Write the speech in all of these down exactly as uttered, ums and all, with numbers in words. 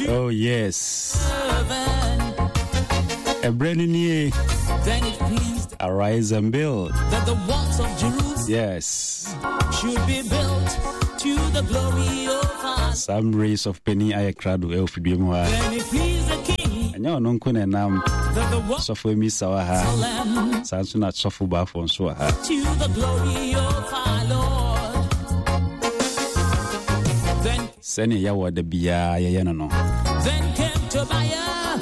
Oh yes. Ɛberɛ no nie. Then it pleased Arise and build. that the walls of Jerusalem Yes. should be built to the glory of our. Some race of penny ayɛ krado ɛwɔ fidua mu ha. Then it pleased the king Ɛnyɛ ɔno nko na ɛnam. that the walls Sɔfo emi sa wɔ ha. of Jerusalem Saa nso na sɔfo baafo nso wɔ ha. to the glory of our Lord. Then, Sɛnea yɛwɔ da biara yɛyɛ no no. then came Tobiah,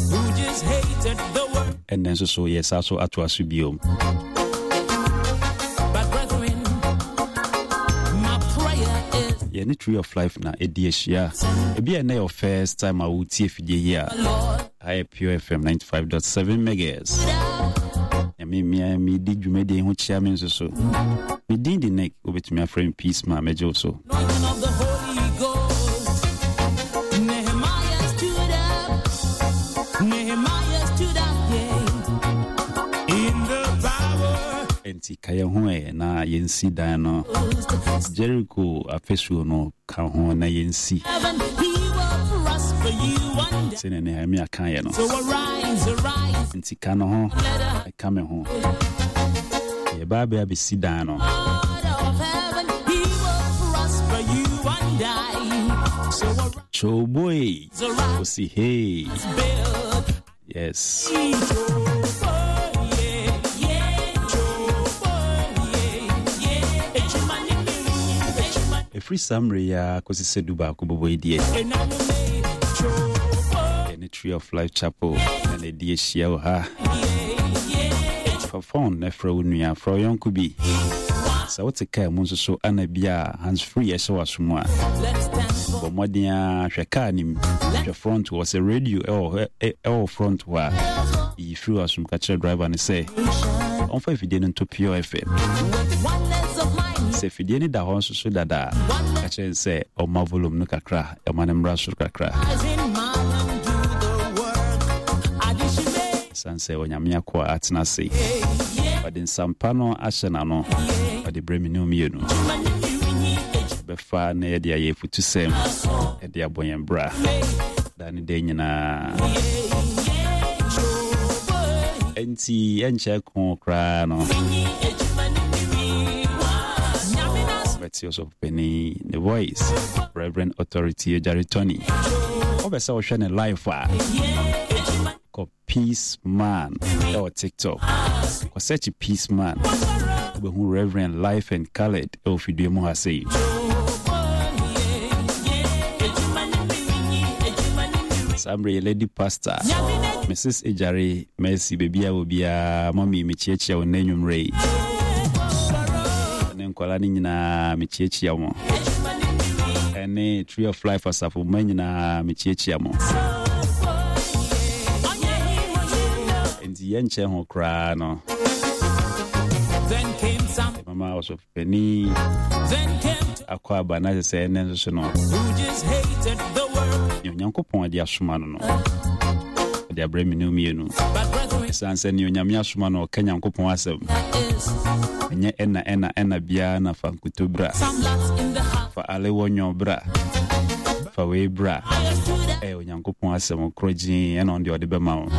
who just hated the word. Ɛnnɛ nso so yɛsa so atoa so biom. But brethren, my prayer is Yɛne Tree of Life na ɛdi ahyia. Ebi a ɛnnɛ yɛ wo first time a wotie fidie yi a, Lord. ha yɛ Pure F M ninety-five point seven megahertz. Nyame mmea medi dwumadie ho kyia me nso so. Me din de Nick, wobɛtumi afrɛ me Peace ma mɛgye wo so. Anointing of the Holy Ghost. Nehemiah stood up. Nehemiah stood up, yeah. In the power. Enti ka yɛn ho ɛ na yɛnsi dan no. Jericho afasuo no ka ho na yɛnsi. Heaven, he will prosper you one day. Sɛnea Nehemia kaeɛ no. So arise, arise, Nti ka no ho, let the ɛka me ho. Yɛba abɛ abɛsi dan no. God of heaven, he will prosper you one day. So arise, Choboy. Arise, Osi hey. Build. Yes. Yeah, yeah, yeah, yeah. Ɛfiri saa mmerɛ yi a kɔsi sɛ du baako bɔbɔ yi deɛ, yɛne Tree of Life Chapel na na ɛdi ahyia wɔ ha. Fa phone na frɛ wo nua, frɛ wo yɔnko bi. Sɛ wote kaa mu nso so ana bi a hands free ɛhyɛ w'aso mu a, bɔ mmɔden a hwɛ kaa nim, hwɛ front hɔ sɛ radio ɛwɔ hɔ, ɛ- ɛwɔ front hɔ a, yi firi w'asom ka kyerɛ driver no sɛ ɔmfa afidie no nto Pure F M. Sɛ afidie no da hɔ nso so dada a, ka kyerɛ no sɛ ɔma volume no kakra, ɛma no mmra soro kakra, ɛsiane sɛ Onyame akoa atena ase, ɔde nsampa no ahyɛ n'ano, ɔde brɛ me ne wo mmienu bɛfa na yɛde ayɛ afutusɛm, ɛde abɔ yɛn bra da ne da nyinaa. Enti ɛnkyɛ ko koraa no bɛte ɔsɔfopani ne voice, Reverend Authority Agyare Tony. Wopɛ sɛ wohwɛ ne live a, kɔ Peace Man ɛwɔ TikTok, kɔ search Peace Man, wobɛhu Reverend live and colored ɛwɔ fidua mu ha sei. Saa mmerɛ yɛ Lady Pastor Missus Agyare Mercy, baabi a wɔ biara, mɔmi, mekyiakyia wo nnɛ anwummerɛ yi, ne nkwadaa no nyinaa mekyiakyia mo, ɛne Tree of Life asafo mma nyinaa mekyiakyia mo. Enti yɛnkyɛ ho koraa no, Then came some, mama ɔsɔfopani then came akɔ aba na kyerɛ sɛ ɛnɛ nso so no, who just hated the work. Nea Onyankopɔn de asoma no no ɔde abrɛ me ne wo mmienu. But brethren, Ɛsiane sɛ nea Onyame asoma no ɔka Nyankopɔn asɛm, is ɛnyɛ ɛna ɛna ɛna biara na fa nkuto bra, some lots in the house. fa alewɔ nwɔ bra, fa wei bra. I stood up Ɛyɛ Onyankopɔn asɛm korɔ gyee ɛna ɔno deɛ ɔde bɛma wo.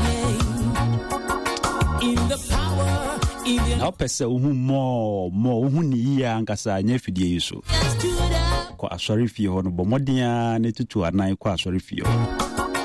In the power, in the Na wopɛ sɛ wohu mɔɔ mɔɔ, wohu ne yie ankasa, nyɛ afidie yi so. Stood up Kɔ asɔre fie hɔ no, bɔ mmɔden a ne tutu anan kɔ asɔre fie hɔ.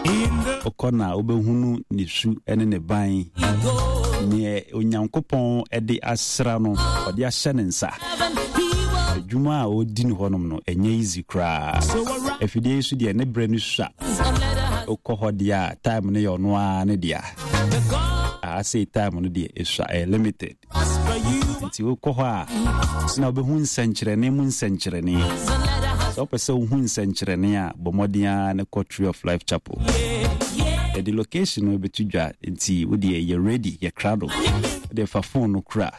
In the Wokɔ na wobɛhunu ne su ne ne ban, Ghost. neɛ Onyankopɔn de asra no, ɔde ahyɛ ne nsa. Heaven, he will Adwuma a ɔdi no hɔnom no ɛnyɛ easy koraa. So arise Afidie yi so deɛ, ne berɛ no sua. And let us Wokɔ hɔ deɛ a, time no yɛ ɔno ara ne dea. The God Aa time no deɛ ɛsua, ɛyɛ limited. Prosper you Nti wokɔ hɔ a na wobɛhu nsɛnkyerɛnne mu nsɛnkyerɛnne. And let us Sɛ wopɛ sɛ wohu nsɛnkyerɛnne a, bɔ mmɔden a ne kɔ Tree of Life Chapel. yeah, Yɛde location no bɛto dwa, nti wodeɛ yɛ ready, yɛ krado, wode fa phone no kora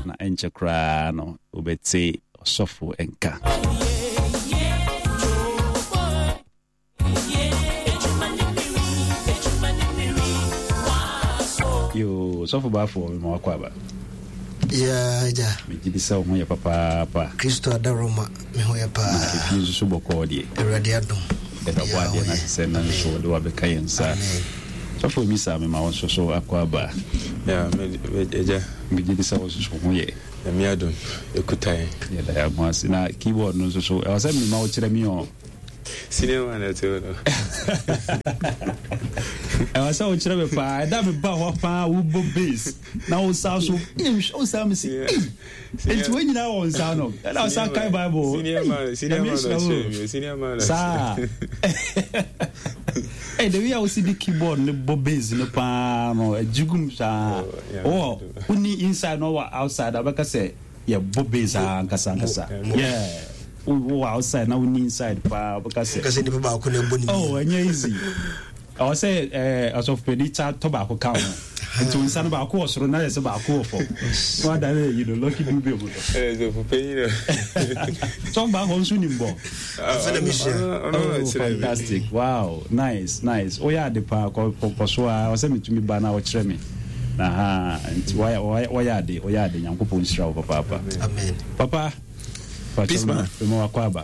na ɛnkyɛ koraa no wobɛte ɔsɔfo nka. Yeah, yeah. Yo, sɔfo baafoɔ, mema wakɔ aba. Ya agya. Megye di sɛ wo ho yɛ papaapa. Kristo adaroma, me ho yɛ Na paa. ɛfie nso so bɔkɔɔ deɛ? Awurade adom. Yɛda bɔ adeɛ no ase sɛ na nso wɔde wabɛka yɛn nsa. Sɔfo mi saa mema wo nso so akɔ aba. Agya. Megye di sɛ wo nso so ho yɛ. Nyame adom, ɛkuta yɛn. Yɛda yɛn ho ase. Na keyboard no nso so, ɛwɔ sɛ mema wo kyerɛ me ɔ. Senior man ɛte hɔ no. Ɛwɔ sɛ wokyerɛ me paa. Ɛda me ba hɔ paa wobɔ bass na wo nsa so. Nhwɛ wo saa me si. Enti wɔn nyinaa wɔ nsa no. Ɛna wo sa kan Bible. Senior man, senior man ɔkyerɛ mi. Senior man. Saa. Ɛy the way a wosi di keyboard ne bɔ bass no paa no ɛgyigum saa. Wɔ woni inside na wɔ outside abɛka sɛ yɛ bɔ bass ankasa ankasa. Yeah. Wɔ outside na woni inside paa wobɛka sɛ. Kasa nipa baako na ɛbɔ ne mu. Oh, ɛnyɛ easy. Ɛwɔ sɛ ɛɛ ɔsɔfopani ta tɔ baako ka ho. Nti wo nsa no baako wɔ soro na yɛ sɛ baako wɔ fam. Na wada ne yi no Lucky Dube mu no. Ɔsɔfopani no. Sɔfo baako nso nim bɔ. Afei na mehyia. Oh, fantastic. Wow, nice, nice. Woyɛ ade paa kɔ kɔ so a ɔsɛ metumi ba na ɔkyerɛ me. Na ha nti wɔyɛ wɔyɛ ade, wɔyɛ ade. Nyankopɔn nhyira wo papaapa. Amen. Papa. Peace man. Mema wakɔ aba.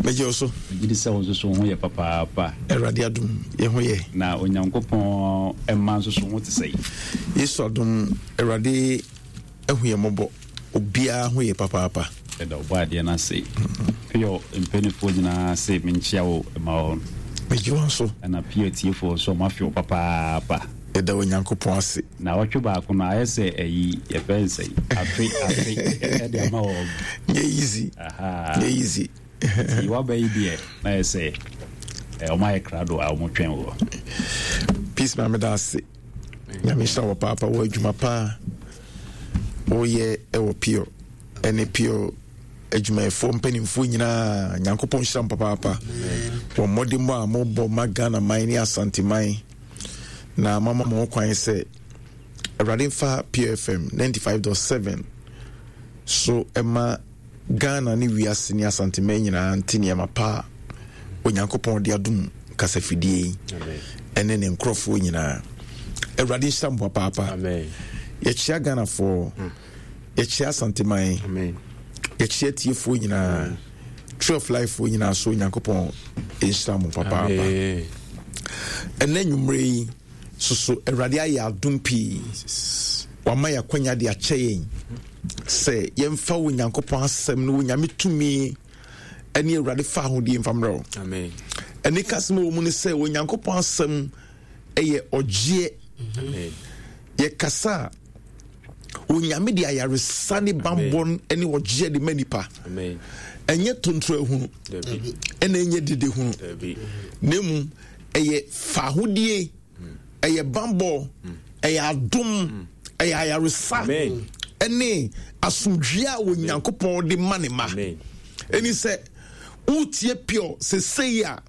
Megye wo so. Megye di sɛ wo nso so ho yɛ papaapa. Awurade adom yɛ ho yɛ. Na Onyankopɔn mma nso so ho te sɛ. Yesu adom, Awurade ahu yɛ mmɔbɔ. Obiara ho yɛ papaapa. Yɛda ɔbɔ adeɛ no ase. Pio mpanimfoɔ nyinaa se menkyia wo ma wɔn. Megye wɔn so. Ɛna Pio atiefoɔ nso ɔmo afe wo papaapa. Yɛda Onyankopɔn ase. Na ɔtwe baako no ayɛ sɛ ɛyi yɛfrɛ no sɛ afe afe ɛde ama wɔn. Nyɛ easy. Nyɛ easy. Nti waba yi deɛ na yɛ sɛ ɔmo ayɛ krado a ɔmo twɛn wɔ. Peace maame da ase. Nyame nhyira wɔ paapa wɔ adwuma paa woyɛ ɛwɔ Pure ɛne Pure adwumayɛfoɔ mpanimfoɔ nyinaa. Nyankopɔn nhyira mo papaapa wɔ mmɔdemmɔ a mobɔ ma Ghana man ne Asante man, na mama mo ho kwan sɛ Awurade mfa Pure F M ninety-five point seven so ɛma Ghana ne wiase ne Asanteman nyinaa nte nneɛma pa a Onyankopɔn de adom kasafidie yi ɛne ne nkurɔfoɔ nyinaa. Awurade nhyira mo papaapa. Yɛkyia Ghanafoɔ, yɛkyia Asanteman, yɛkyia tiefoɔ nyinaa, Tree of Life foɔ nyinaa so. Onyankopɔn nhyira mo papaapa. Ɛnɛ nwummerɛ yi soso, Awurade ayɛ adom pii, wama yɛ akwanya de akyɛ yɛn sɛ yɛmfa wo Nyankopɔn asɛm no, wo Nyame tumi ɛne Awurade fa ahodie mfa mmerɛ wo. Ɛne kasɛm wɔ mu no sɛ Onyankopɔn asɛm ɛyɛ ɔgyeɛ. Yɛkasa a, Onyame de ayaresa ne bambɔ ne ɔgyeɛ de ma nipa. Ɛnyɛ tontoro ahunu ɛna ɛnyɛ dede hunu, na emu ɛyɛ fahodie, ɛyɛ bambɔ, ɛyɛ adom, ɛyɛ ayaresa ɛne asomdwie a Onyankopɔn de ma ne ma. Ɛni sɛ wotie Pure sesei a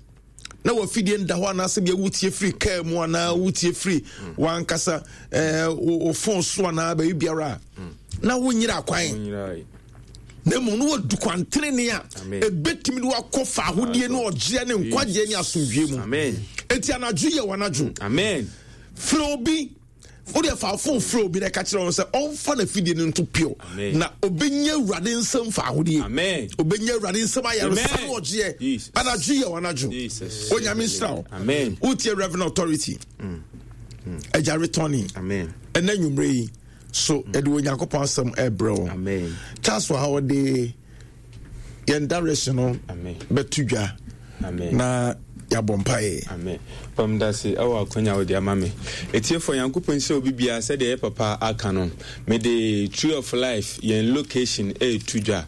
na wafidie nda hɔ, anaasɛ bia wotie firi kaa mu anaa wotie firi wankasa ɛɛ wo phone so anaa baabi biara a, na wonyera kwan, na mmom no wadu kwantenene a ɛbɛtumi de wakɔ fa ahodie ne ɔgyeɛ ne nkwagyeɛ ne asomdwie mu. Enti anadwo yɛ w'anadwo. Frɛ obi, wode fa phone frɛ obi na ɛka kyerɛ wɔn sɛ ɔmfa n'afidie no nto Pure na obɛnya Awurade nsɛm fa ahodie, obɛnya Awurade nsɛm ayaresa ne ɔgyeɛ. Anadwo yɛ w'anadwo. Onyame nhyira wo. Wotie Reverend Authority Agya Retɔne. Ɛnɛ nwummerɛ yi so ɛde Onyankopɔn asɛm ɛbrɛ wo. Charles wɔ ha, ɔde yɛn direction no bɛto dwa na yɛabɔ mpaeɛ. Amen. Pamdase ɛwɔ akwanya wode ama me. Etiefoɔ, Nyankopɔn nhyira obi biara. Sɛdeɛ yɛ papa aka no, mede Tree of Life yɛn location ɛɛtu dwa.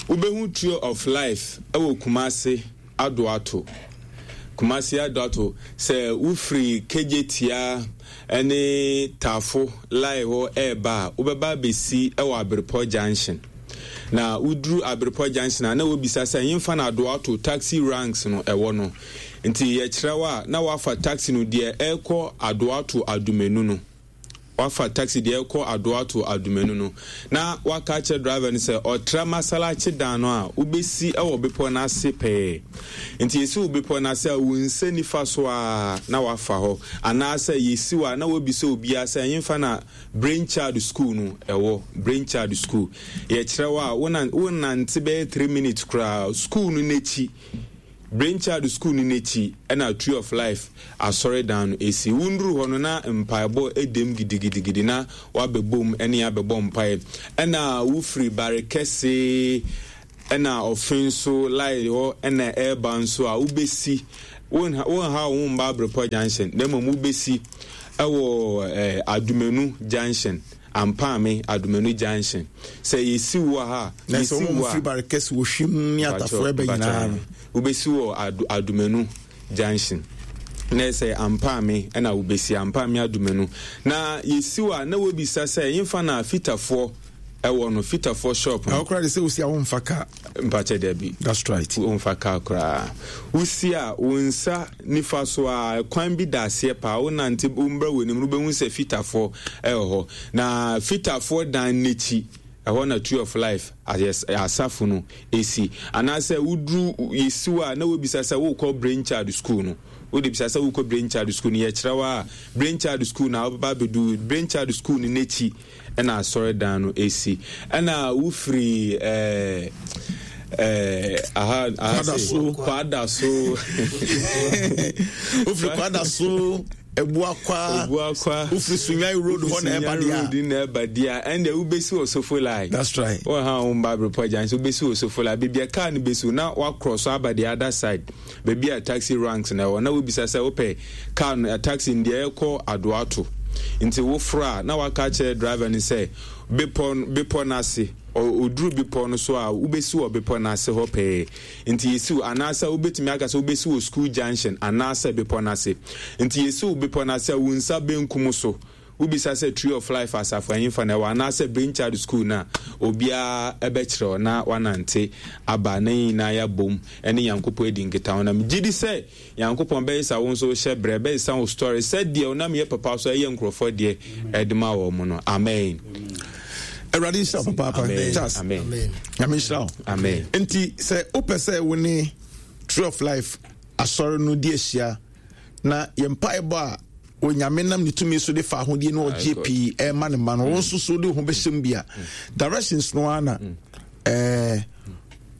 Wobɛhu Tree of Life ɛwɔ Kumase Adoato. Kumase Adoato, sɛ wofiri Kejetia ne Tafo line hɔ ɛɛba a, wobɛba abɛsi ɛwɔ Abrepɔ Junction. Na woduru Abrepɔ Junction a, na wobisa sɛ yɛmfa no Adoato taxi ranks no ɛwɔ no. Nti yɛkyerɛ wo a, na wafa taxi no deɛ ɛrekɔ Adoato Adumenu no. Wafa taxi deɛ ɛkɔ Adoato Adumenu no na waka akyerɛ driver no sɛ ɔtra Masalakye dan no a wobɛsi wɔ bepɔ no ase pɛɛ. Nti yɛsi wo bepɔ no ase a, wo nsa nifa so a na wafa hɔ, anaasɛ yɛsi wo a na wabisa obiara sɛ ɛhemfa na Brain Child School no ɛwɔ. Brain Child School, yɛkyerɛ wo a, wonante bɛyɛ three minutes koraa, school no n'akyi. Brainchild School no n'akyi ɛna Tree of Life asɔredan no esi. Wunduru hɔ no na mpaebɔ edem gidigidigidi na wabɛbom ɛne abɛbɔ mpae. Ɛna wofiri Barekɛse ɛna ɔfe nso line hɔ ɛna ɛreba nso a wobɛsi wonha wonha wo mba Abrepɔ Junction, na mmom wobɛsi ɛwɔ ɛɛ Adumenu Junction, Ampaame Adumenu Junction. Sɛ yɛsi wɔ ha na sɛ yɛsi wɔn wɔ firi a Barekɛse, Wɔhwim ne Atafoɔ ɛbɛ nyinaa no, wobɛsi wɔ Adu Adumenu Junction na sɛ Ampaame ɛna wobɛsi Ampaame Adumenu na yɛsi wɔ a, na wɔbisa sɛ yɛmfa na Fitafoɔ ɛwɔ no, Fitafoɔ shop no. Ɛwɔ koraa de sɛ wosi a womfa kaa. Mpakyɛ, dabi. That's right. Womfa kaa koraa. Wosi a, wo nsa nifa so a, kwan bi da aseɛ paa. Wonante wombra w'anim no, wobɛhu sɛ Fitafoɔ ɛwɔ hɔ, na Fitafoɔ dan n'akyi ɛhɔ na Tree of Life ayɛ- asafo no esi. Anaasɛ woduru yɛsiw a, na wobisa sɛ wokɔ Brainchild School no. Wode bisa sɛ wokɔ Brainchild School no, yɛkyerɛ wo a, Brainchild School na wobɛba abɛdu Brainchild School no n'akyi ɛna asɔredan no esi. Ɛna wofiri ɛɛ ɛɛ aha aha Kwadaso. Kwadaso. Wofiri Kwadaso, Ebuakwa. Ebuakwa. Wofiri Sunyani Road hɔ na ɛba deɛ a, Road na ɛba deɛ a, ɛnna wobɛsi wɔ Sofo Line. That's right. Wɔn ha wɔn ba Abrepɔ gyan so, wobɛsi wɔ Sofo Line baabi a kaa no bɛsi, na wakorɔ so aba the other side, baabi a taxi ranks na ɛwɔ, na wobisa sɛ wopɛ kaa no, taxi no deɛ ɛkɔ Adoato. Nti woforo a, na waka kyerɛ driver no sɛ bepɔ bepɔ n'ase. Ɔduru bepɔ no so a, wobɛsi wɔ bepɔ n'ase hɔ pɛɛ. Nti yɛsiw, anaasɛ wobɛtumi aka sɛ wobɛsi wɔ school junction anaasɛ bepɔ n'ase. Nti yɛsiw bepɔ n'ase a, wo nsa benkum so, wobisa sɛ Tree of Life asafo ahemfa na ɛwɔ anaasɛ Brainchild School no a, obiara ɛbɛkyerɛ wo na wanante aba na yɛn nyinaa yɛabom ɛne Nyankopɔn adi nkitaho. Na megye di sɛ Nyankopɔn bɛyɛ sa wo nso hyɛ berɛ bɛyɛ wo story sɛdeɛ wonam yɛ papa so ɛyɛ nkurɔfoɔ deɛ ɛde ma wɔ mu no. Amen. Awurade nhyira wo papaapa. Amen. Charles. Amen. Nyame nhyira wo. Amen. Nti sɛ wopɛ sɛ wo ne Tree of Life asɔre no di ahyia na yɛn mpaebɔ a Onyame nam ne tumi so de fa ahodie na ɔgye God. pii ɛma ne ma no, wo nso so de wo ho bɛhyɛ mu bi a, directions no ara na ɛɛ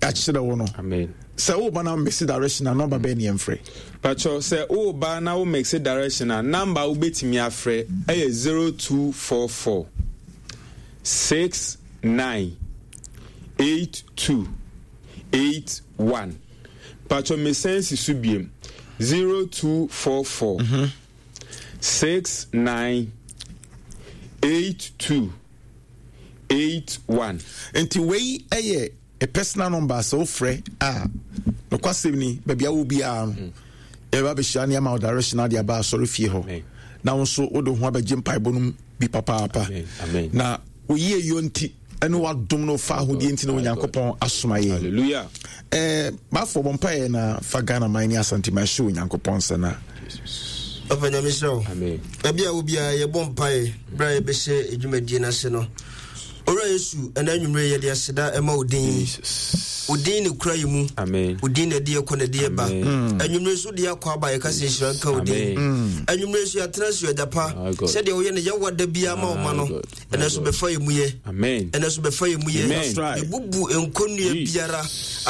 akyerɛ wo no. Amen. Sɛ woba na mɛsi direction a, number bɛɛ ne yɛmfrɛ? Pacho, sɛ woba na wo mix direction a, number a wobɛtumi afrɛ ɛyɛ zero two four four six nine eight two eight one. Pacho, mesan si so biem, zero two four four six nine eight two eight one. Nti wei ɛyɛ a personal number sɛ wofrɛ a, nokwasɛm ni, baabi a wo biara no, yɛbɛba bɛhyia ne ama wo direction ade aba asɔre fie hɔ. Amen. Na wo nso wode wo ho abɛgye mpaebɔ no mu bi papaapa. Amen. Amen. Na woyie yɔ nti ɛne wadom no fa ahodie nti na Onyankopɔn asoma yɛn. Hallelujah. Eh, baafo bɔ mpaeɛ na fa Ghana man ne Asanteman hyɛ Onyankopɔn nsa na Papa, Nyame hyira wo. Amen. Baabi a wo biara, yɛbɔ mpaeɛ berɛ a yɛbɛhyɛ adwumadie no ase no. Owura Yesu, ɛna anwummerɛ yɛde aseda ɛma wo din. Jesus. Wo din ne kura yɛ mu. Amen. Wo din na ɛde yɛkɔ na ɛde yɛba. Amen. Anwummerɛ so de akɔ aba, yɛka sɛ nhyira nka wo din. Amen. Anwummerɛ so yɛatena so agya pa My God. sɛdeɛ woyɛ no yɛwa da biara ma wo ma no. My God. My Ɛnɛ so God. bɛfa yɛ mu yɛ. Amen. Ɛnɛ so bɛfa yɛ mu yɛ. Amen. That's right. Yɛbubu nkɔnnua Jesus. biara,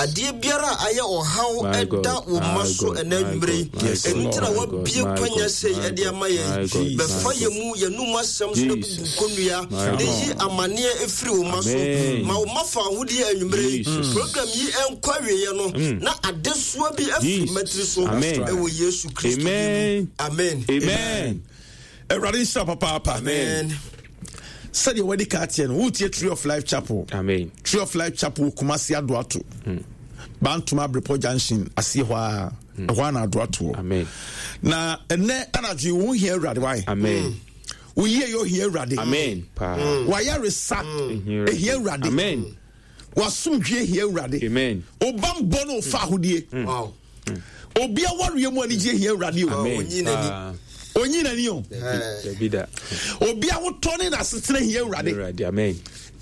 adeɛ biara a ayɛ ɔhaw My ɛda God. wo ma My so God. ɛnɛ My anwummerɛ yi. God. My Ɛno nti na God. woabie My kwanya God. sei My ɛde God. ama yɛn. My God. Bɛfa My yɛ mu yɛnum asɛm so na bubu Jesus. nkɔnnua My na God. yi amanneɛ ɛfiri wo ma so. Amen. Ma wo ma fa ahodeɛ anwummerɛ yi. Jesus. Program yi ɛnkɔ awieɛ no na adesoa bi afiri Jesus. matiri so Amen. ɛwɔ Yesu Kristo din mu. Amen. Amen. Amen. Awurade nhyira papaapa. Amen. Sɛdeɛ wadi ka ateɛ no, wotie Tree of Life Chapel. Amen. Tree of Life Chapel, Kumasi Adoato, Bantoma Abrepɔ Junction aseɛ hɔ a, ɛhɔ a na Adoatoɔ. Amen. Na ɛnɛ anadwo yi, wo ho hia Awurade wae. Amen. Wo yie yɛ ohia Awurade. Amen. Paa. Wayaresa ehia Awurade. Amen. Wasomdwe ehia Awurade. Amen. Obambɔ no ofa ahodie. Wow. Obi awareɛ mu anigye ehia Awurade o. Amen. Onyi n'ani. Paa. Onyi n'ani o. Dabi da. Obi ahotɔ ne n'asetena hia Awurade. Awurade. Amen.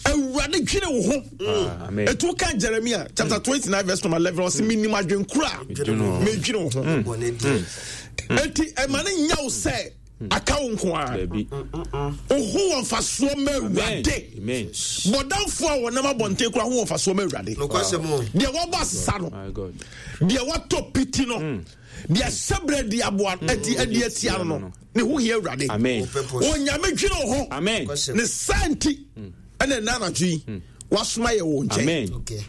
Awurade dwene wo ho. Ah, amen. Etu ka Jeremia chapter twenty nine verse number eleven, ɔsi mi nim adwenkura Medwene wo ho. medwene wo ho. Bɔne deɛ. Eti ɛma ne nya wo sɛ Aka wo nko a. Dabi. Wo ho wɔ mfasoɔ ma Awurade. Amen. Bɔdamfoɔ a wɔnam abɔnten koraa ho wɔ mfasoɔ ma Awurade. Nokwasɛm o. Deɛ wɔabɔ asesa no, My God. deɛ watɔ piti no, deɛ hyɛbrɛ di aboa adi adi atia no no, ne ho hia Awurade. Amen. Wo purpose. Onyame dwene wo ho. Amen. Nokwasɛm. Ne saa nti ɛna ɛna anadwo yi wasoma yɛ wɔ nkyɛn. Amen. Okay.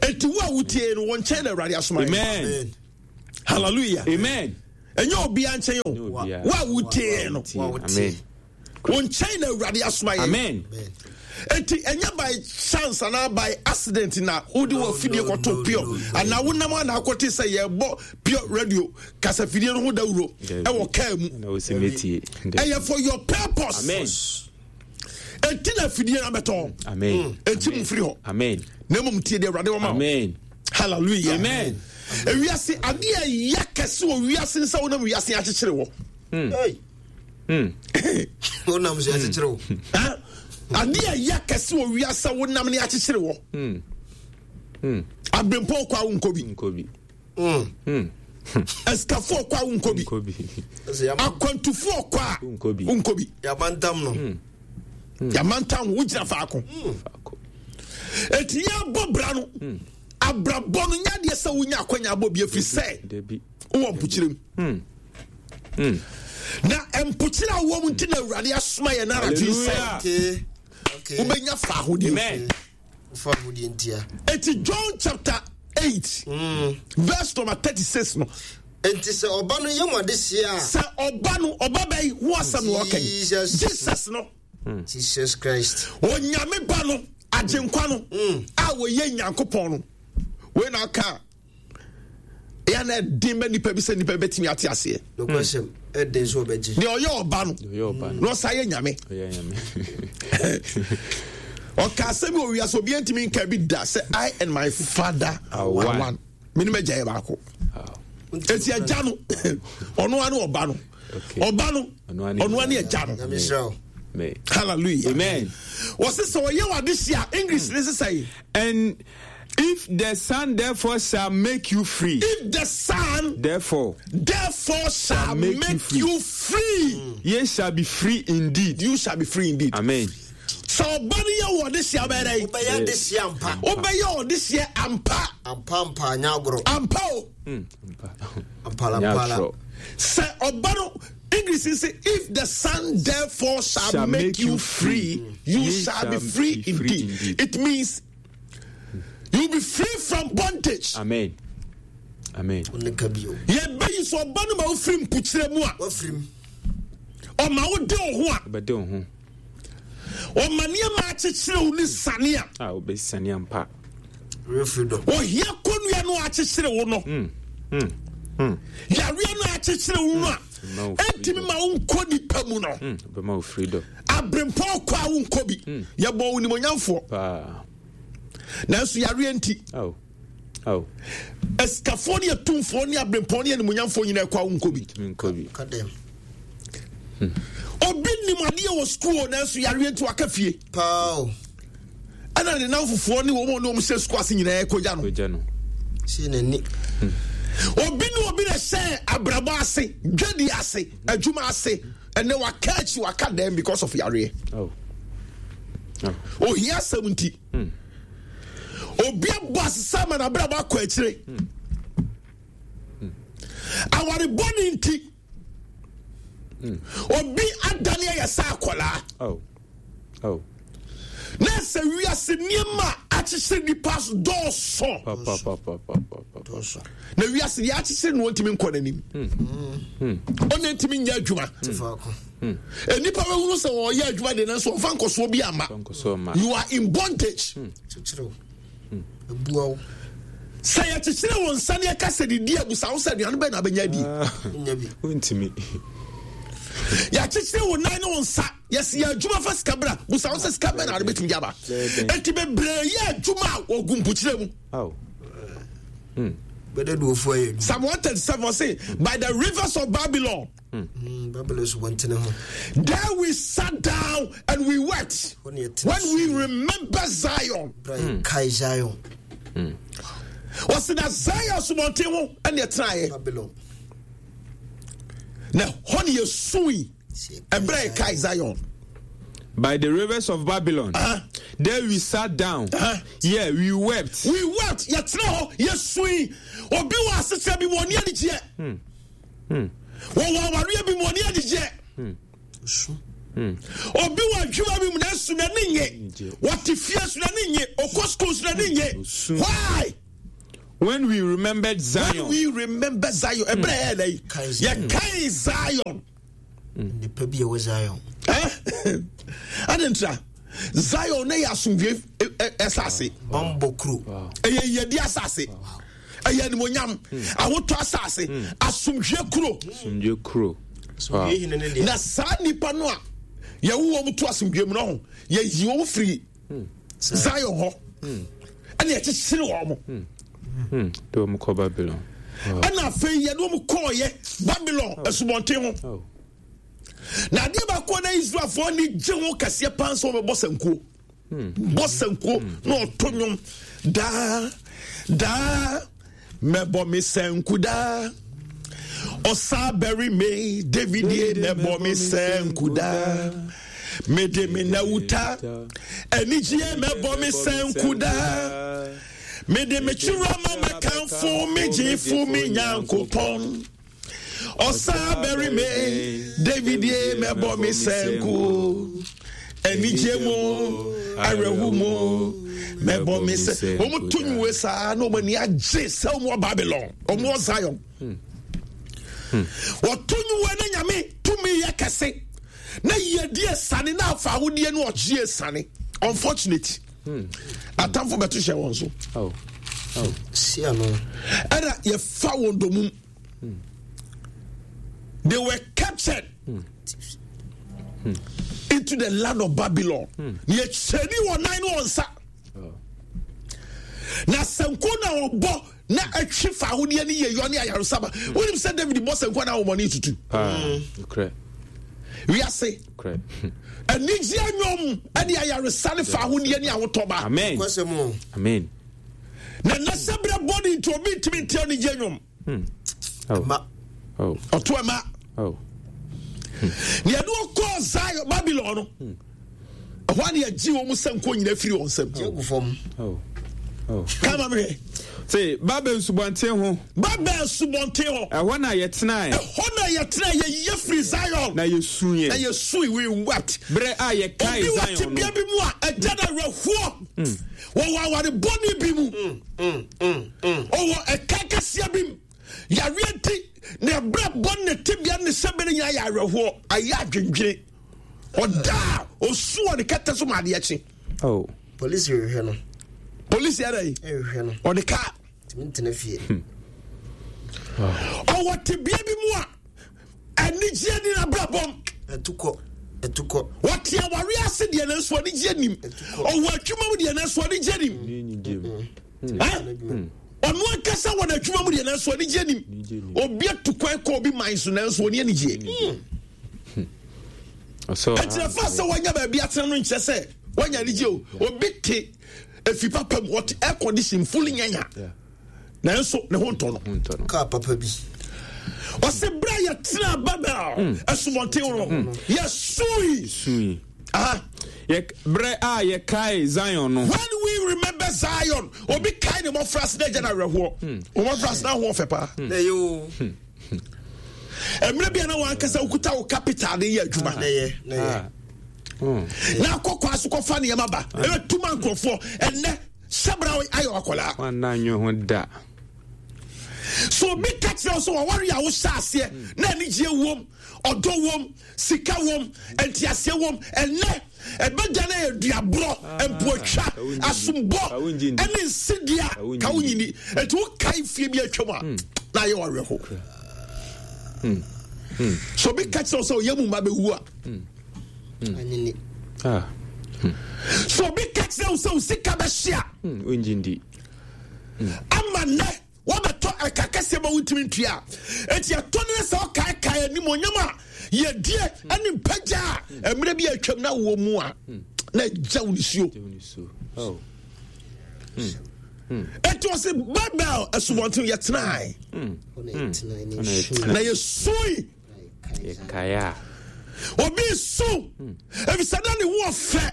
Enti wo a wotie no, wɔ nkyɛn na Awurade asoma yɛ. Amen. Amen. Hallelujah. Amen. Ɛnyɛ obiara nkyɛn o. Ɛnyɛ obiara. Wo a wotie no, Wa wotie. Amen. wo nkyɛn na Awurade asoma yɛ. Amen. Amen. Enti ɛnyɛ by chance anaa by accident na wode No, wɔ fidie no, kɔto no, Pure no, no. anaa wonam ana akɔte sɛ yɛbɔ Pure Radio kasafidie no ho dawuro Dabi. ɛwɔ kaa mu. Na wosi metie. Ɛyɛ for your purpose. Amen. Enti na afidie no abɛtɔ. Amen. Enti mu firi hɔ. Amen. Na mmom tie deɛ Awurade wɔ ma wo. Amen. Hallelujah. Amen. Ewiase adeɛ a ɛyɛ kɛse wɔ wiase nsa wonam wiase akyekyere wɔ. Hey. Wonam so akyekyere wo. Ha? Adeɛ a ɛyɛ kɛse wɔ wiase a wonam ne akyekyere wɔ. Abrempɔn kɔ a wonkɔ bi. Nkobi. Mm. Asikafoɔ kɔ a wonkɔ bi. Nkobi. Ɛsɛ yama- Akwantufoɔ kɔ a Wonkɔ bi. wonkɔ bi. yamantam no. Yamantam wo wogyina faako. Faako. Eti yɛabɔ bra no. Abrabɔ no nyɛ adeɛ sɛ wonya akwanya abɔ bi ɛfiri sɛ Dabi. wowɔ mpokyerɛ mu. Na mpokyerɛ a wowɔ mu nti na Awurade asoma yɛn anadwo yi sɛ Hallelujah. Okay. Okay. wobɛnya faahodie. Amen. Fa ahodie ntia. Eti John chapter eight verse number thirty-six no. Enti sɛ ɔba no yɛ mo adehyeɛ a. Sɛ ɔba no ɔba bɛyi ho asɛm na ɔka yi. Jesus. Jesus no. Jesus Christ. Onyame ba no agyenkwa no a wɔyɛ Nyankopɔn no. Wei na aka a ɛyɛ na ɛden ma nipa bi sɛ nipa bɛtumi ate aseɛ. Nokwasɛm ɛden so ɔbɛgye. Deɛ ɔyɛ ɔba no Ɔyɛ ɔba no. na ɔsa yɛ Nyame. Ɔyɛ Nyame. Ɔka asɛm bi wɔ wiase obiara ntumi nka bi da sɛ I and my father are Are one. one. Me ne m'agya yɛ baako. Wow. Eti agya no ɔno ara ne ɔba no. Okay. Ɔba no Ɔno ara ne ɔno ara ne agya no. Nyame nhyira wo. Amen. Hallelujah. Amen. Wɔsi sɛ ɔyɛ wɔ adehyia English ne sisa yi. And if the Son therefore shall make you free, If the Son therefore therefore shall make make, you free. you free, ye shall be free indeed. you shall be free indeed. Amen. Sɛ ɔba no yɛ wɔ adehyia bɛyɛ dɛ. Wobɛyɛ adehyeɛ ampa. Wobɛyɛ ɔdehyia ampa. Ampa ampa anyɛ agorɔ. Ampa o. Ampala ampala. Sɛ ɔba no English say if the Son therefore shall, Shall make, make you you free, you Ye shall be free, indeed. indeed. It means you will be free from bondage. Amen. Amen. Wo ne ka bio. Yɛbɛyi sɛ ɔba no ma wofiri mpokyerɛ mu a Wafirim. ɔma wode wo ho a Ɔbɛde wo ho. ɔma nneɛma akyekyere wo ne sane a A wobɛsane ampa. Real freedom. ohia kɔnnua no akyekyere wo no yareɛ no akyekyere wo no a Ma wo ɛntumi ma wonkɔ nipa mu no Mm, Ɔbɛma wo freedom. aberempɔn kɔ a wonkɔ bi yɛbɔ wo nimonyamfoɔ Paa. nanso yareɛ nti Aw. Aw. asikafoɔ ne atumfoɔ ne aberempɔn ne animonyamfoɔ nyinaa kɔ a wonkɔ bi Tumi nkɔ bi. Ka dɛm. Obi nim adeɛ wɔ sukuu o nanso yareɛ nti waka fie. Paa o. Ɛna ne namfofoɔ ne wɔn a wɔn hyɛ sukuu ase nyinaa kɔgya no. Kɔgya no. Si n'ani. Obi ne obi na hyɛ abrabɔ ase, dwadi ase, adwuma ase, ɛnɛ waka akyi waka dɛm because of yareɛ. Aw. Aw. Ohia asɛm nti. Obi abɔ asesa ama n'abrabɔ akɔ akyire. Awarebɔ ne nti. Obi adane ayɛ sɛ akwadaa. Aw. Aw. Na sɛ wiase nneɛma a akyekyere nipa dɔɔso. Pa pa pa pa pa pa pa. Dɔɔso. Na wiase deɛ akyekyere no ntumi nkɔ n'anim. Ɔna ntumi nyɛ adwuma. Te faako. Nnipa bɛhunu sɛ wɔyɛ adwuma de nanso wɔmfa nkɔsoɔ bi ama. Nkɔsoɔ ma. You are in bondage. Kyekyere wo. Ebua wo. Sɛ yɛkyekyere wo nsa ne yɛka sɛ didi abusa wo sɛ aduane bɛn na abɛnya adi. Nya bi. Wontumi. Yɛakyekyere wo nan ne wo nsa yɛsi yɛ adwuma fa sika bra busa wo sɛ sika bɛn na ade bɛtumi de aba. Enti bebree yɛ adwuma a wɔgu mpokyerɛ mu. Aw. Bɛdɛ duofoɔ ayɛ adwuma. Psalm one thirty-seven say, by the rivers of Babylon, Mm, Babylon so wɔntene ho. there we sat down and we wept Hɔ ne yɛtena when we remember Zion. Bra yɛkae Zion. Wɔsi na Zion asomɔnten ho ɛna ɛtenaeɛ. Babylon. Na hɔ ne yɛsui ɛberɛ a yɛkae Zion. By the rivers of Babylon, Uh-huh. there we sat down. Uh-huh. Yeah, we wept. We wept, yɛtena hɔ, yɛsui. Obi wɔ asekyerɛ bi mu ɔne anigyeɛ. Wɔwɔ awareɛ bi mu ɔne anigyeɛ. Obi wɔ adwuma bi mu nanso n'ani nye. Wɔte fie so n'ani nye. Ɔkɔ sukuu so n'ani nye. Why? When we remembered When Zion, we remember Zion, ɛberɛ yɛ dɛ yi, Kae Zion. yɛkae Zion. Nipa bi a ɛwɔ Zion. Eh? Ade ntra Zion ne yɛ asomdwe asase. Bambɔ kuro. Ɛyɛ yɛdi asase. Ɛyɛ animonyam. Ahotɔ asase. Asomdwe kuro. Asomdwe kuro. Wow. Yɛ hene ne deɛ. Na saa nipa no a yɛwo wɔn to asomdwe mu no ho, yɛyi wɔn firi Zion hɔ. Ɛna yɛkyekyere wɔn. Hmm. De wɔn kɔ Babylon. Ɛna afei yɛde wɔn kɔɔyɛ Babylon asubɔnten ho. Oh. Na adeɛ baako a na Israelfoɔ ani gye ho kɛseɛ paa nso wɔbɛbɔ sankuo. Bɔ sankuo na ɔto nnwom daa daa mɛbɔ me sanku daa. Ɔsa bɛri me David ye mɛbɔ me sanku daa. Mede me nawuta anigyeɛ mɛbɔ me sanku daa. Mede me kyerɛ ma mɛkamfo me gyefo me Nyankopɔn. Ɔsa bɛri me David ye mɛbɔ me sanku. Anigye mu awerɛho mu mɛbɔ me sɛ wɔn to nwe saa na wɔn ani agye sɛ wɔn wɔ Babylon, wɔn wɔ Zion. Wɔto nwe na Nyame tumi yɛ kɛse na yiedie sane na afa ahodie ne ɔgyeɛ sane. Unfortunate, atamfo bɛto hyɛ wɔn so. Oh. Oh. Si ano. Ɛna yɛfa wɔn domum. They were captured into the land of Babylon. Na yɛkyɛni wɔn nan ne wɔn nsa. Na sankuo na ɔbɔ na atwi fa ahodeɛ ne yɛyɔ ne ayaresaba. Wonim sɛ David bɔ sankuo na ahomɔne tutu. Ah. Korɛ. Wiase Korɛ. anigyeɛ nnwom ne ayaresa ne fa ahodeɛ ne ahotɔ ba. Amen. Kwasɛm o. Amen. Na nnɛ sɛ berɛ bɔne nti obi ntumi nte anigyeɛ nnwom. Oh. Ma. Oh. Ɔto ɛma. Oh. Na yɛde wɔkɔɔ Zion Babylon no. Ɛhɔ a na yɛgye wɔn sankuo nyinaa firi wɔn nsam. Gye gu fam. Oh. Oh. Kama mehwɛ. Say Babel nsubɔnten ho. Babel subɔnten hɔ. Ɛhɔ na yɛtenae. Ɛhɔ na yɛtena yɛyɛ firi Zion. Na yɛsuiɛ. Na yɛsui, we wept. Berɛ a yɛkae Obi wɔ Zion no. tebea bi mu a ɛgya no awerɛhoɔ. Wɔwɔ aware bɔne bi mu. Ɔwɔ ɛka kɛseɛ bi mu. Yareɛ nti na ɛberɛ bɔne ne tebea ne sɛbɛ no nyinaa yɛ awerɛhoɔ. Ayɛ adwendwene. Ɔda a osu wɔ ne kɛtɛ so ma adeɛ kye. Oh. Polisi rehwɛ no. Polisi yɛ dɛ Ɛrehwɛ no. ɔde kaa. Tumi ntena fie. Ɔwɔ tebea bi mu a anigyeɛ ni n'abrabɔm. Ɛtukɔ. Ɛtukɔ. Wɔte aware ase deɛ nanso anigyeɛ nim. Ɔwɔ adwuma mu deɛ nanso anigyeɛ nim. Eh? Ɔno ankasa wɔ n'adwuma mu deɛ nanso anigyeɛ nim. Obi atu kwan kɔ obi man so nanso ɔni anigyeɛ. Ɔsɛ Ɛkyerɛ fa sɛ wanya baabi atena no nkyerɛ sɛ wanya anigyeɛ o. Obi te efi papa mu, ɔte air condition fully nyanya. Nanso ne ho ntɔ no. Ntɔ no. Kaa papa bi. Ɔsɛ berɛ a yɛtena Babel asubɔnten no yɛsui. Sui. Aha. Yɛ berɛ a yɛkae Zion no. When we remember Zion, obi kae ne mmɔfra ase na agya no awerɛhoɔ. Wo mmɔfra ase na ahoɔ fɛ paa. Na ɛyɛ o. Mmerɛ bi a na wankasa wokuta wo capital de yɛ adwuma. Na ɛyɛ. Na ɛyɛ. Na akɔ kwa so kɔfa nneɛma ba. Ɛbɛtu ma nkurɔfoɔ. Ɛnnɛ, hyɛbra ayɛ wakɔlaa. Wanna nwe ho da. So obi ka kyerɛ wo sɛ wɔware a wohyɛ aseɛ na anigyeɛ wom, ɔdɔ wom, sika wom, nteaseɛ wom. Ɛnnɛ, ɛbɛgya no yɛ duaborɔ, mpoatwa, asombɔ, ɛne nsedea ka wo nyini. Enti wokae fie bi atwam a, na ayɛ wawerɛho. So obi ka kyerɛ wo sɛ ɔyɛ mu mma bɛwu a, Anyini. Ah. so obi ka kyerɛ wo sɛ wo sika bɛhye a, Wongye ndi. ama nnɛ wɔbɛtɔ ɛka kɛseɛ ma wontumi ntua a, enti ɛtɔ ne sɛ ɔkaekae animonyam a yɛdie ne mpagya a mmerɛ bi atwam na wɔ mu a na agya wo nisuo. Oh. Enti ɔse Babel asubɔnten yɛtenae Hɔ na yɛtena ne na yɛsui. Yɛkae a. Obi su efisɛ na ne ho ɔfɛ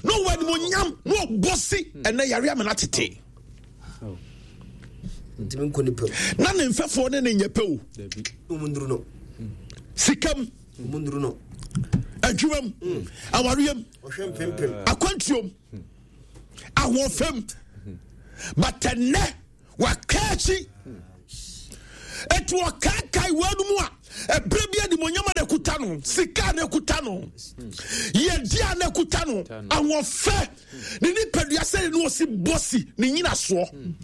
na ɔwɔ animonyam na ɔbɔ si ɛnɛ yare amena tete. Ntumi nkɔ nipa mu. Na ne mfɛfoɔ ne ne nyɛ pɛ o. Dabi. Ɔmu nduru no. Sika mu. Ɔmu nduru no. Adwuma mu. Awareɛ mu. Ɔhwɛ mpempem. Akwantuo mu. Ahoɔfɛ mu. But ɛnɛ waka akyi. Eti ɔkaakae wɔn mu a ɛberɛ bi animonyam a n'akuta no, sika a n'akuta no, yɛdi a n'akuta no, ahoɔfɛ, ne nipadua sɛ ne ɔsi bɔsi ne nyinasoɔ.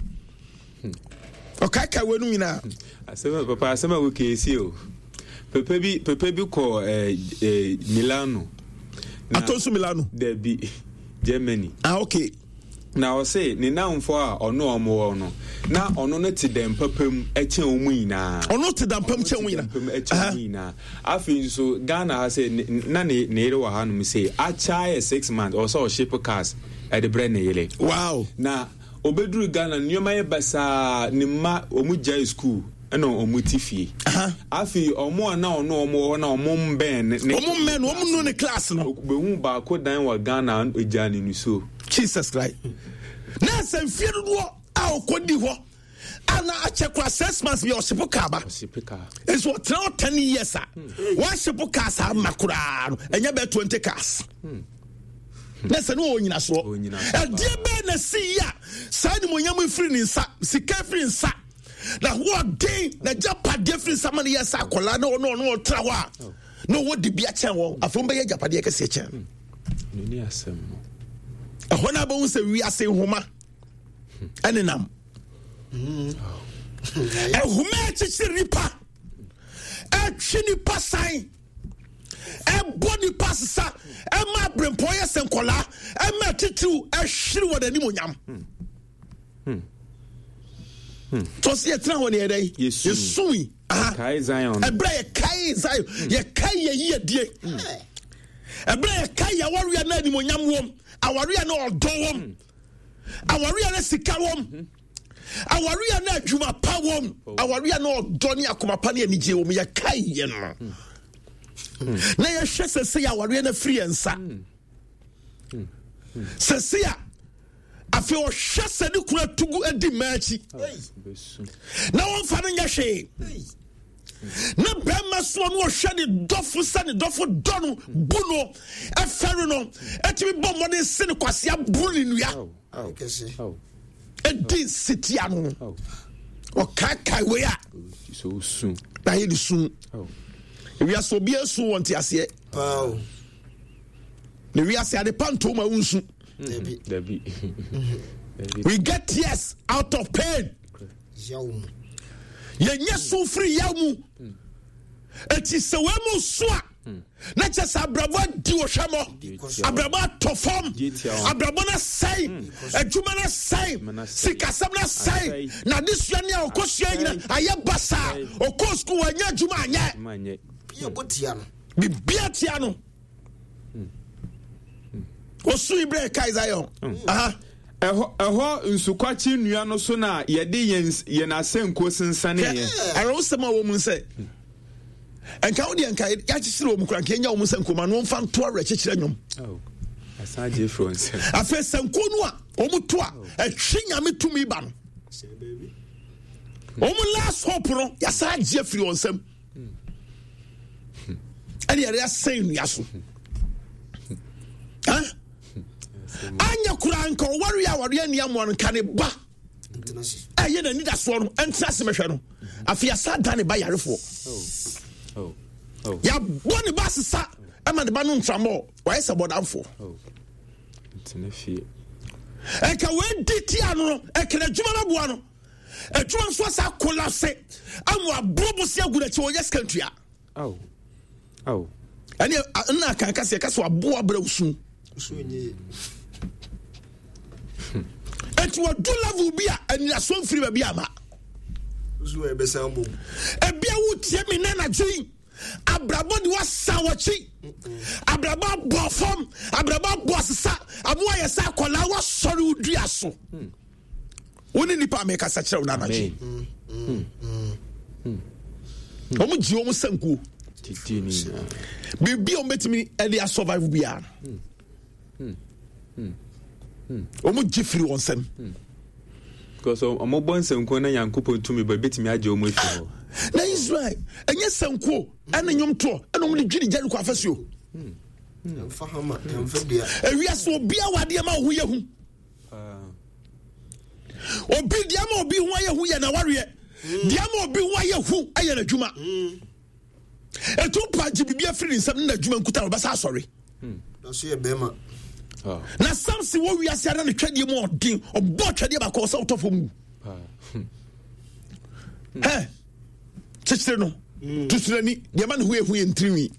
Ɔkaakae wɔn nyinaa. Asɛm a papa asɛm a woka esi o. Papa bi papa bi kɔ eh, eh, Milano. Na- Atɔ nso Milano. Dabi, Germany. Ah, okay. Na ɔse ne namfo a ɔno ɔmo wɔ no, na ɔno no te dɛm papa mu ɛkyɛn wɔn nyinaa. Ɔno te dɛm pam kyɛn wɔn Ɔno te dɛm pam nyinaa. ɛkyɛn wɔn nyinaa. Afei nso Ghana ha sɛ ne- na ne ne yere wɔ hanom sɛ akyɛ ayɛ six months ɔsɛ ɔship cars ɛde brɛ ne yere. Wow. Na obeduru Ghana nneɛma yɛ basaa, ne mma ɔmo gyae school ɛna ɔmo ti fie. Afei ɔmo a na ɔno ɔmo wɔ hɔ na ɔmo mbɛn ne ne Ɔmo mmɛn no, ɔmo nu ne class no. Behu baako dan wɔ Ghana egya ne nisuo. Jesus Christ. Na sɛ mfie dodoɔ a ɔkɔdi hɔ a na akyɛ kora six months bi a ɔhyepo kaa ba. Ɔship car. Nso ɔtena hɔ ten years a wahyepo kaa saa ma koraa no ɛnyɛ bɛɛ twenty cars. Na sɛ ne ɔwɔ nyinasoɔ. Ɔwɔ nyinasoɔ. Ɛdeɛ bɛɛ na si yi a saa animonyam firi ne nsa, sika firi nsa, na hoɔden na gyapadeɛ firi nsa ma ne yɛ sɛ akwadaa na ɔno ɔno ɔtena hɔ a na ɔwɔ dibea kyɛn wɔn. Afei wɔn bɛyɛ agyapadeɛ kɛseɛ kyɛn. N'ani asɛm no. Ɛhɔ no abɛhu sɛ wiase nhoma ɛnenam. Ɛhoma akyekyere nipa, ɛtwe nipa san, ɛbɔ nipa sesa, ɛma aberempɔn yɛ sɛ nkɔlaa, ɛma titiriw ɛhwere wɔ n'anim onyam. Tɔsi yɛtena hɔ ne yɛdɛ Yɛsui. yɛsui. Aha. Kae Zion. Ɛberɛ a yɛkae Zion, yɛkae yɛ yiedie. Ɛberɛ a yɛkae yɛ awareɛ na animonyam wɔm, awareɛ na ɔdɔ wɔm, awareɛ na sika wɔm, awareɛ na adwuma pa wɔm, awareɛ na ɔdɔ ne akoma pa ne anigye wɔm, yɛkae yɛ no. Na yɛhwɛ sɛ sɛ yɛ awareɛ no afiri yɛn nsa. Sɛ sɛ a afei ɔhwɛ sɛ ne kunu atugu adi mmaa akyi na wɔmfa no nyɛ hwee. Na bɛrima soɔ no ɔhwɛ ne dɔfo sɛ ne dɔfo dɔ no, bu no, ɛfɛre no, ɛtumi bɔ mmɔden se ne kwasea buru ne nnua. Kɛse. Ɛdi nsetia no. Ɔkaakae wei a So soon. na ayɛ ne su. Ewiase obiara su wɔ nteaseɛ. Paa o. Na ewiase ade pa nto ma wonsu. Dabi. Dabi. We get tears out of pain. Yaw mu. Yɛnyɛ su firi yaw mu. Eti sɛ wɔn mu su a, na kyɛ sɛ abrabɔ adi ohwɛmɔ, abrabɔ atɔ fam, abrabɔ no asɛe, adwuma no asɛe, sikasɛm no asɛe, na adesua ne a ɔkɔsua nyina ayɛ basaa. Ɔkɔɔ sukuu wanyɛ adwuma anyɛ. Manyɛ. Yɛ tia no. Bibia tia no. Osu ibrɛ kae Zion. Aha. Ɛhɔ ɛhɔ nsukwakye nnua no so na yɛde yɛn yɛn asɛnkuo sensaneeɛ. Awerɛhosɛm a wɔ mu sɛ nka wo deɛ nka yɛakyekyere wɔ mu kora nka yɛnya wɔ mu sɛ nkoma no wɔmfa nto awerɛkyekyerɛ nnwom. Asan gye firi wɔn nsam. Afei sankuo no a wɔn to a ɛtwe Nyame tumi ba no, wɔn last hope no yɛasan agye afiri wɔn nsam ɛne yɛde asɛn nnua so. Anyɛ koraa nka ɔware a awareɛ ani amoa no nka ne ba ɛyɛ n'anidasoɔ no ɛntena ase mɛhwɛ no. Afei yɛasa da ne ba yarefoɔ, yɛabɔ ne ba asesa ɛma ne ba no ntramɔ wayɛ sɛ bɔdamfoɔ. Ɛka wɔadi tia no no ɛka n'adwuma no aboa no, adwuma nso asa kolapse ama aburo bosi agu n'akyi wɔnyɛ sika ntua. Ɛne nna akanka sɛ yɛka sɛ waboa brɛ wo su. Enti wɔdu level bi a anidasoɔ mfiri baabi ama. Ebia wotie me nna anadwo yi, abrabɔ de wasa wɔkyi, abrabɔ abɔ fam, abrabɔ abɔ asesa, amoa yɛ sɛ akwadaa wasɔre wo dua so. Wo ne nipa a mekasa kyerɛ wo no anadwo yi. Wɔn gye wɔn sankuo. Biribi a wɔbɛtumi de asurvive biara no, wɔn gye firi wɔn nsam. Because wɔn bɔ nsankuo na Nyankopɔn tumi ba ebetumi agye wɔn afi hɔ. Na Israel ɛnyɛ sankuo ɛne nnwomtoɔ ɛna wɔn de dwiri Jericho afasuo. Ewiase obiara wɔ adeɛ ma ɔho yɛ hu. Obi deɛ ama obi ho ayɛ hu yɛ n'awareɛ. Deɛ ama obi ho ayɛ hu yɛ n'adwuma. Etu mpa gye biribi afiri ne nsam ne n'adwuma nkuta na ɔbɛsa asɔre. Na Samson wɔ wiase ara ne twɛdeɛ mu ɔden, ɔbɔ twɛdeɛ baako ɔsɛ ɔtɔ fam wu. Hɛ kyekyere no tusurani deɛ ma ne ho yɛ hu yɛ ntirinwi.